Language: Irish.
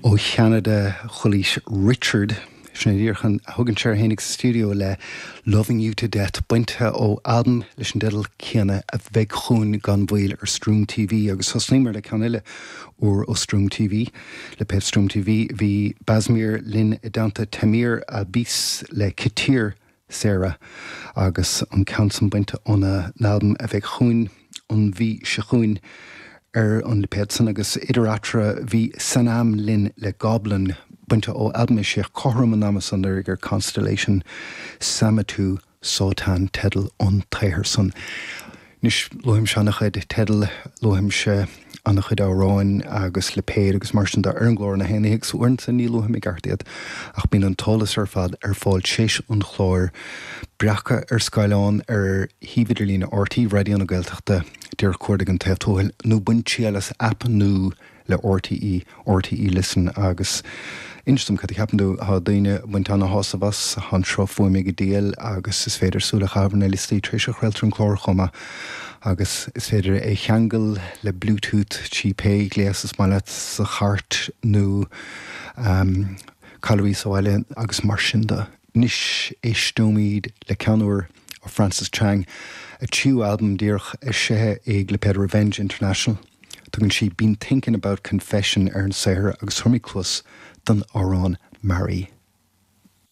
Ó Cheanada, Chualaís Richard, sin é díreach a thugann sé air fhéinig sa stiúideo le Loving You To Death, bainte ó albam leis an dteideal céanna a bheidh chugainn gan mhoill ar Stream TV. Agus thosnaíomar le ceann eile úr ó Stream TV, lipéad Stream TV. Bhí Basmir linn i dteannta Tamir Albis le Kitir Sarah agus an ceann san bainte óna n-albam a bheidh chugainn an mhí seo chugainn ar an lipéad san agus idir eatarthu bhí Sanam linn le Goblin bainte ó albam a eisíodh cothrom an ama san anuraidh ar Constellation, Samatu Sotan teideal an tsaothair san. Anois, luaimse an-chuid teideal, luaimse an-chuid amhráin agus lipéid agus mar sin de ar an gclár na haon oíche agus uaireanta ní luaim i gceart iad ach bíonn an t-eolas ar fad ar fáil tar éis an chláir, breactha ar scáileán ar shuíomh idirlíne RTÉ Raidió na Gaeltachta, díreach cuardaigh An Taobh Tuathail nó bain triail as aip nua le RTÉ, RTÉ Listen, agus inis dom cad a cheapann tú. Tá daoine ag baint ana-shásamh as, tá an sruth fuaime go diail agus is féidir súil a chaitheamh ar na liostaí tar éis a chraoltar an clár chomh maith agus is féidir é a cheangal le Bluetooth trí pé gléas is maith leat sa chairt nó callairí sa bhaile agus mar sin de. Anois éisteoimid le ceann úr ó Frances Chang, a tríú albam díreach eisithe ag lipéad Revenge International. Tugann sí Been Thinking About Confession ar an saothar agus tabharfaimid cluas don amhrán Marry.